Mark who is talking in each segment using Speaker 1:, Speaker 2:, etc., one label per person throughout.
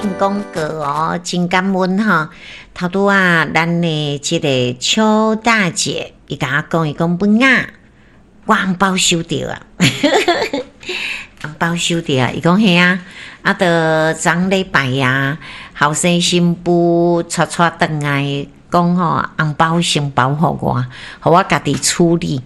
Speaker 1: 進廣告哦，真感恩吼。頭拄仔，咱的這个邱大姐，伊共我講，伊講文仔，我紅包收著啊，紅包收著啊，伊講嘿啊，啊，著昨禮拜啊，後生新婦帶帶轉來講吼，紅包先包予我，予我家己處理。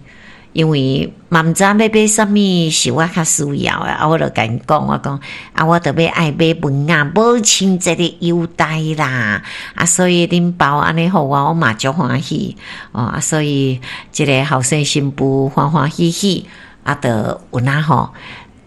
Speaker 1: 因為嘛毋知影欲買啥物是我較需要的，啊，我就共𪜶講，我講啊，我著欲愛買文仔，母親節的優待啦，啊，所以恁包按呢予我，我嘛足歡喜哦，啊，所以這个後生新婦歡歡喜喜，啊，就有影吼，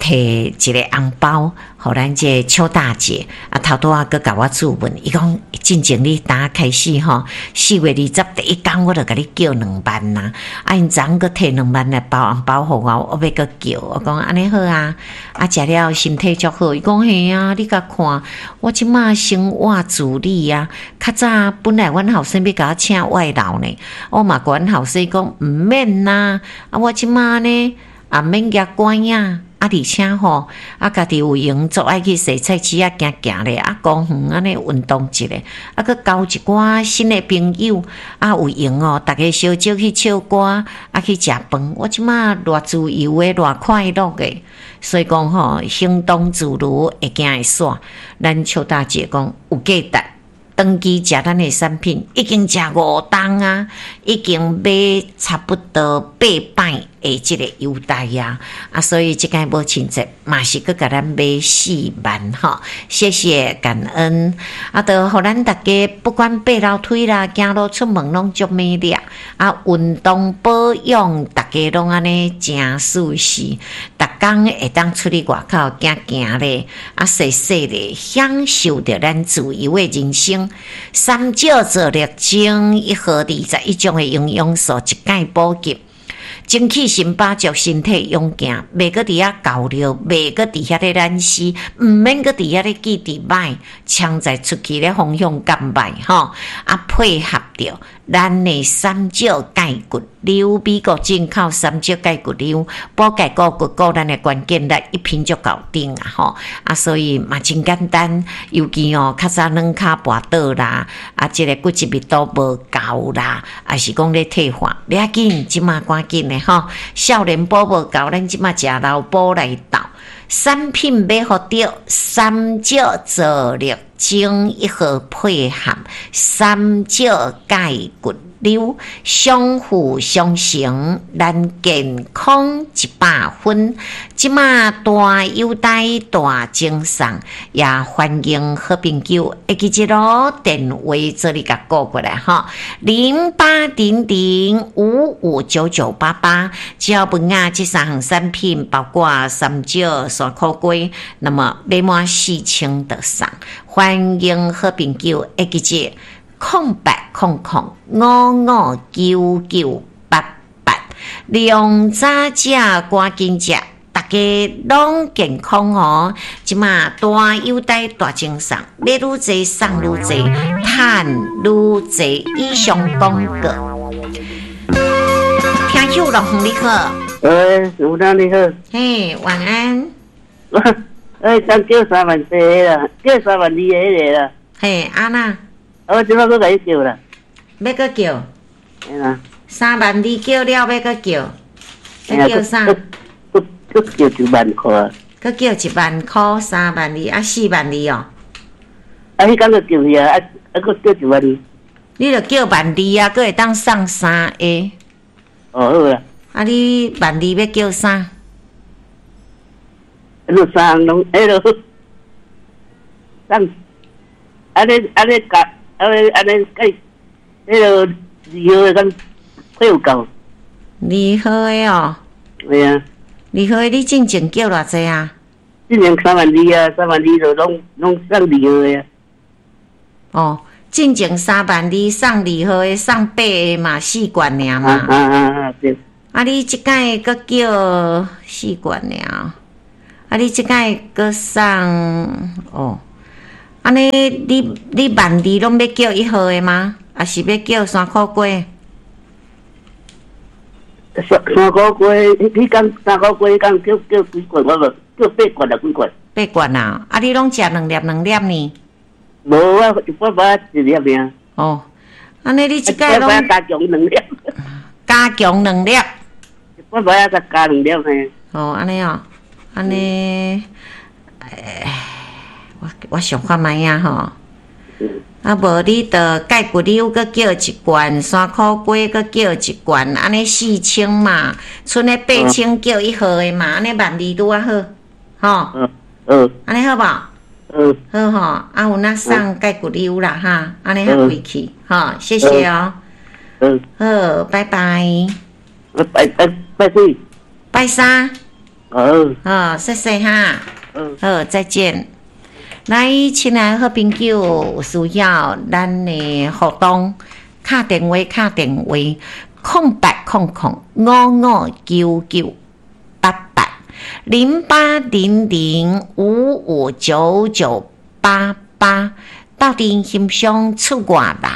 Speaker 1: 提一个紅包，予咱這个邱大姐，啊，頭拄仔閣共我諮問，伊講進前你打開始吼，4月20第一工我就共你叫2萬啊，啊，𪜶昨昏閣提2萬來包紅包予我，我欲閣叫，我講按呢好啊，啊，食了身體足好，伊講嘿啊，你共看，我這馬生活自理啊，較早本來阮後生欲共我請外勞呢，我嘛共阮後生講毋免啦，啊，我這馬呢也免舉拐仔。啊，而且吼，啊，家己有閒足愛去踅菜市仔行行咧，啊，公園按呢運動一下，啊，閣交一寡新的朋友，啊，有閒哦，逐家相招去唱歌，啊，去食飯。我這馬偌自由的，偌快樂的，所以講吼，行動自如，會行會煞。咱邱大姐講有價值。長期食咱的產品，已經食五冬啊，已經買差不多八擺的這个優待啊，啊，所以這擺母親節嘛是閣共咱買4萬吼，謝謝感恩，啊，就予咱逐家不管爬樓梯啦，行路出門攏足美麗啊，運動保養，逐家攏按呢誠舒適，逐工會當出去外口行行咧，啊，踅踅咧，享受著咱自由的人生。三少做力精一盒21種的營養素，一擺補給，精氣神飽足，身體勇健，袂閣佇遐厚尿，袂閣佇遐咧懶死，毋免閣佇遐咧記佇歹，搶在出去咧方向感歹吼，啊配合著咱的三少鈣骨溜，美國進口三少鈣骨溜，補鈣顧骨顧咱的關鍵力，一瓶就搞定啊吼！啊，所以嘛真簡單，尤其哦，較早軟跤跋倒啦，啊，這个骨質密度無夠啦，抑是講咧退化，袂要緊，這馬趕緊的吼，少年補無夠，咱這馬食老補來鬥。產品買予著，三少做力精一盒配合三少鈣骨溜，相輔相成，咱健康100分。這馬大優待大贈送，也歡迎好朋友會記這囉電話做你共顧過來吼，0800559988，只要文仔這三項產品，包括三少山苦瓜，那麼買滿4000就送。歡迎好朋友會記這0800559988，量早食，趕緊食，逐家攏健康哦！這馬大優待大贈送，買愈濟送愈濟，趁愈濟。以上廣告。聽友樂你好，
Speaker 2: 喂，吳長你好，
Speaker 1: 嘿，晚安。
Speaker 2: 哎，咱叫3萬四啦，叫3萬2个彼个啦。
Speaker 1: 嘿，按怎？
Speaker 2: 我這擺閣共你叫啦。
Speaker 1: 欲閣叫？
Speaker 2: 嘿啦。
Speaker 1: 3萬2叫了，欲閣叫？欲叫啥？
Speaker 2: 閣叫1萬箍。
Speaker 1: 閣叫1萬箍，3萬2啊，4萬2哦。
Speaker 2: 啊，彼工就叫去啊，啊啊，閣叫1萬2。
Speaker 1: 你著叫萬二啊，閣會當送三个。
Speaker 2: 哦，好啦。
Speaker 1: 啊，你萬二欲叫啥？
Speaker 2: 你三攏彼落，送，按呢按呢共，按呢按呢計，彼落二號的敢配有夠？
Speaker 1: 二號的哦。
Speaker 2: 對啊。
Speaker 1: 二號的你進前叫偌濟啊？
Speaker 2: 進前3萬2啊，三萬二就攏攏送二號的啊。
Speaker 1: 哦，進前3萬2送二號的，送八个嘛，四罐爾嘛。
Speaker 2: 啊啊啊對。
Speaker 1: 啊，你這擺閣叫四罐爾，啊，你這擺閣送哦，按呢你你萬二攏欲叫一號的嗎？抑是欲叫山苦瓜？
Speaker 2: 山山苦瓜，彼工山苦瓜，彼工叫叫幾罐，我無叫八罐啊，幾罐？
Speaker 1: 八罐啊！啊，你攏食兩粒兩粒呢？
Speaker 2: 無，我一擺擺一粒爾。
Speaker 1: 哦，按呢你這擺攏
Speaker 2: 加強兩粒。
Speaker 1: 加強兩粒。
Speaker 2: 一擺擺仔加兩粒呢。
Speaker 1: 哦，按呢哦，按呢，欸，我想看覓仔吼。啊，無你就蓋骨溜閣叫一罐，山苦瓜閣叫一罐，按呢4000嘛，賰咧8000叫一盒的嘛，按呢12,000拄仔好，吼。
Speaker 2: 嗯。
Speaker 1: 按呢好無？
Speaker 2: 嗯。
Speaker 1: 好吼，啊有哪送蓋骨溜啦哈，按呢較貴氣，吼，謝謝哦。
Speaker 2: 嗯。
Speaker 1: 好，拜拜。
Speaker 2: 拜拜拜幾？
Speaker 1: 拜三。
Speaker 2: 好。
Speaker 1: 好，謝謝哈。
Speaker 2: 嗯。
Speaker 1: 好，再見。來，親愛的好朋友，有需要咱的活動，敲電話，敲電話，0800559988，0800559988，鬥陣欣賞出外人。